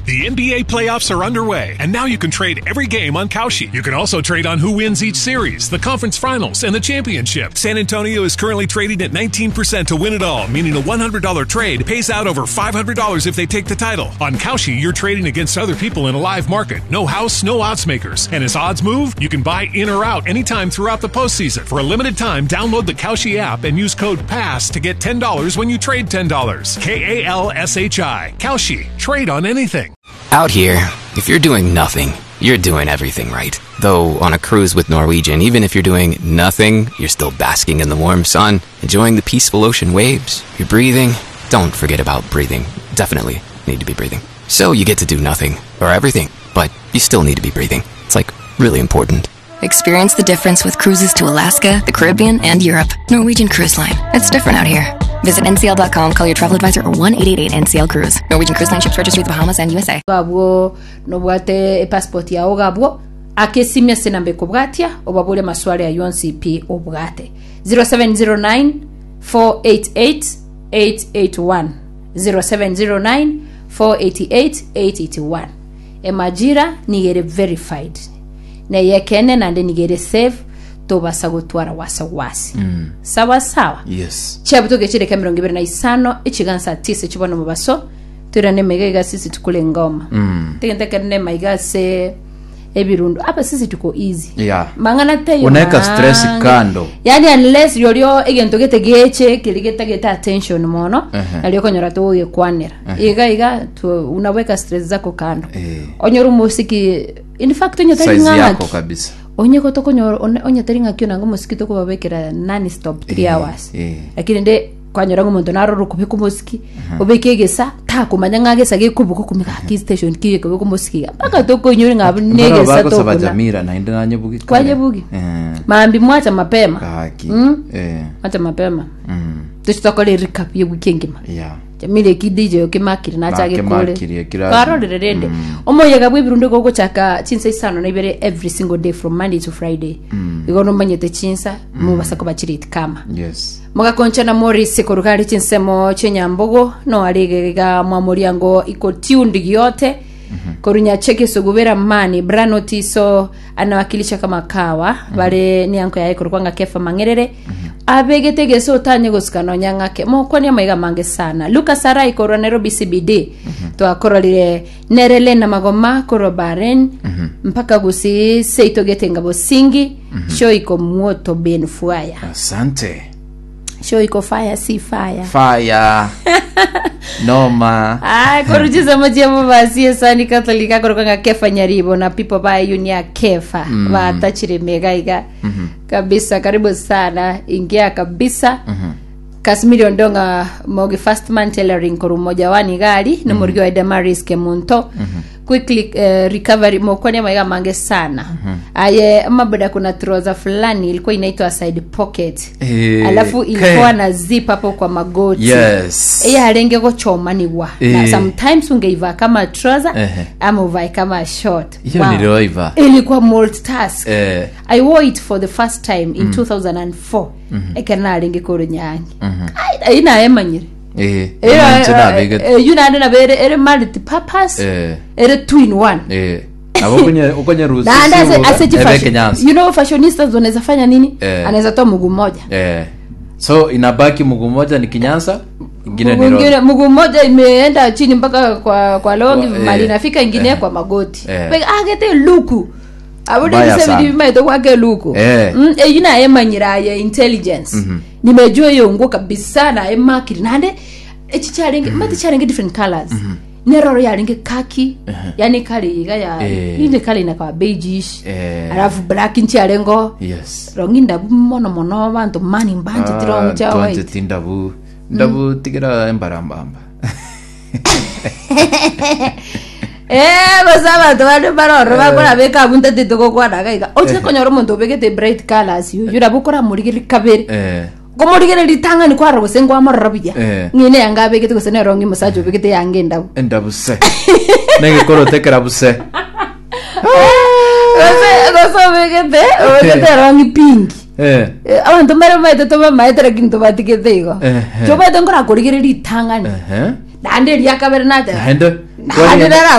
The NBA playoffs are underway, and now you can trade every game on Kalshi. You can also trade on who wins each series, the conference finals, and the championship. San Antonio is currently trading at 19% to win it all, meaning a $100 trade pays out over $500 if they take the title. On Kalshi, you're trading against other people in a live market. No house, no odds makers. And as odds move, you can buy in or out anytime throughout the postseason. For a limited time, download the Kalshi app and use code PASS to get $10 when you trade $10. K A L S H I. Kalshi. Trade on anything. Out here, if you're doing nothing, you're doing everything right. Though on a cruise with Norwegian, even if you're doing nothing, you're still basking in the warm sun, enjoying the peaceful ocean waves, you're breathing. Don't forget about breathing. Definitely need to be breathing. So you get to do nothing, or everything, but you still need to be breathing. It's like really important. Experience the difference with cruises to Alaska, the Caribbean, and Europe. Norwegian Cruise Line. It's different out here. Visit ncl.com, call your travel advisor, or 1 888 NCL Cruise. Norwegian Cruise Line ships registry the Bahamas and USA. Abwo nobwate epassport yao iga abwo, aka esimi ase enamba ekobwatia, obabore amaswali ayio onsi pi obwate. 0709 488 881 0709 488 881 Emajira nigo ere verified neyekeene naende nigo ere safe tobasa gotwara wasi wasi sawa sawa Yes. chiabutoka echideka emerongo ibere na isano echigansa tisa chibona omobaso toirane emaiga iga sisi tukure ngoma tegente ekero ne maiga ase ebirundu apa sisi tuko easy Yeah. mang'ana teiyo Unaweka stress mange. kando. yani unless yorio egento gete geche keri getagete attention mono Ehe. nario okonyora togogekwanera iga iga tu, unaweka stress zako kando Eh. onyore omosiki in fact onye tari Size ng'a yako ng'aki kabisa. onye gotokonyora one- onye tari ng'aki onange omosiki tokobabekera non stop 3 Eh, hours eh. lakini nde kwanyora ng'a omonto narora okobeka omosiki obeke egesa takomanya ng'a gesa gekobuga okomeka gaki station ki gekobeka omosiki iga mpaka tokoinyora ng'a abwo Mbaro negesa bagosaba tokuna Jamila naende nanyebugi kare. Kwanyebugi? Eh. mambi mwacha mapema Gaki. Mm. Eh. mwacha mapema Mm. tochi tokore recap ye wiki engima Yeah. Jamila eki DJ okemakire nachage kore Nakemakire kira- karorire rende omoyega bw'ebirundo gogochaka chinsa isano na ibere every single day from Monday to Friday igo nomanyete chinsa mobasa koba chireti kama Yes. Mogakonchana Morris koruga are chinsemo chi'enyambogo no are iga mwamoriango iko tuned giote koru Nyacheke Sugubera Mani Brano Tiso anawakilisha kama kawa bare ni anko yaye korokwa ng'a Kefa Mang'erere abegete egese otanye gosika nonya ng'ake mokwania maiga mange sana Lucas Arai korwa Nairobi CBD twakororire nere Lena Magoma korwa Bahrain mpaka gusii seito getenga bosingi show iko moto ben fire Asante. show iko fire si fire Fire. Noma. Ay, koruchiza mochiemo basi esani Catholic akoroka ng'a Kefa Nyaribo na people ba yunia Kefa mm. batachire mega iga mm -hmm. kabisa karibu sana ingia kabisa mm -hmm. Kasmiri Ondonga Mogi First Man Tailoring koru mmoja wani gari mm -hmm. nomorigi wa Damaris Kemunto mm -hmm. quickly eh, recovery mokwania maiga mange sana mm -hmm. aye maboda kuna trouser fulani ilikuwa inaitwa side pocket Eh, alafu ilikuwa ke. na zip hapo kwa magoti Yes. eyarenge gochomaniwa na Eh. sometimes ungeivaa kama trouser Ehe. ama uvae kama short Hiyo niliwaivaa. ilikuwa multitask Eh. i wore it for the first time in 2004 ekero narenge korwa nyangi Ai, ai naemanyire Eh. Inche nabegete. eyu naende nabo ere ere multipurpose Eh. ere two in one Eh. Nabo okonye okonyerusia naende ase ase ebe chifashion kenyansa. you know fashionistas wanaweza fanya nini Eh. anaweza toa mguu mmoja Eh. So inabaki mguu mmoja ni kinyansa, ingine ni Mguu road. ingine- mguu mmoja imeenda chini mpaka kwa kwa longi Kwa- mali eh, inafika ingine eh. kwa magoti Eh. Pe- agete luku Mbaya abude sana. bimaito kwake luku Eh. mm, eyu naye manyira ya intelligence nimejua iyo nguo kabisa naye makiri nande echi charenge mati charenge different colors neroro yarenge kaki yani kali iga ya Eh. inde kali inakawa beigeish Eh. alafu black nchiarengo Yes. rongi ndabu mono mono bantu mani mbanje tirongo cha white twancheti ndabu ndabu tigera embarambamba Eh, gose abanto bande baroro bakora beka abwo ntatete gokwana iga iga ochire konyora omonto obegete bright colours oyo nabo okoramorigereria kabere Eh. okomorigereria ritang'ani kwarora gose nkwamorora buya Eh. ng'ina eyanga abegete gose nero ng'a omosacha obegete eyanga endabu endabu se negekorote ekerabu se gose gose obegete obegete erongi pink Eh. Eh, abanto mbare bamaete tobamaete lakini tobatigete igo Ehe. chobete nkorakorigereria ritang'ani Ehe. naende eria kabere nateba Naende naende nara.